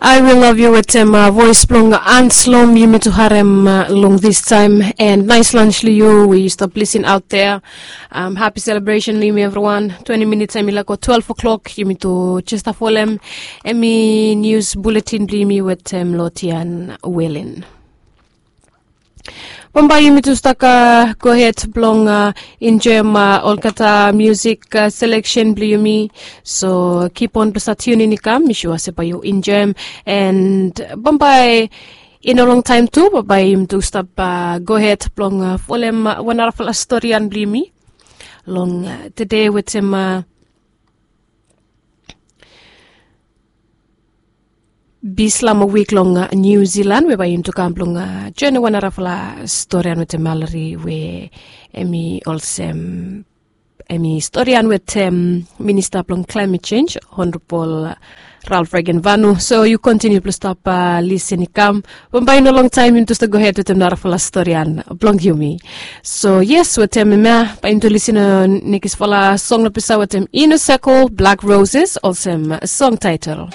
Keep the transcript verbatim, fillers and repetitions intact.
I will love you wetem voes blong Anslom yumi tu harem long this time. And nice lunch long yu we yu stap lisin aut there. Happy celebration long yumi evriwan. Twenti minits em i laik go twelve o'clock yumi tu jesta folem em i nius buletin blong yumi wetem lotian welin. Bambae yumi tu staka gohed blong enjoem olgeta musik seleksen blong yumi. So kipon blong stap tiunin i kam mi sua se bae yu enjoem. And bambae i no longtaem tu bambae yumi tu stap gohed blong folem wan narafala storian blong yumi long tede wetem bislama wik long niu zilan we bae yumi tu kam blong joenem wan narafala storian wetem malari we em i olsem em i storian wetem minista blong klaimet sens, honorabol ralf regenvanu. So yu kontiniu blong stap lisin i kam bambae i no longtaem yumi tu stap gohed wetem narafala storian blong yumi. So yes wetem em ya bae yumi tu lisin nekisfala song long pisa wetem ino sekol blak roses olsem song taetel.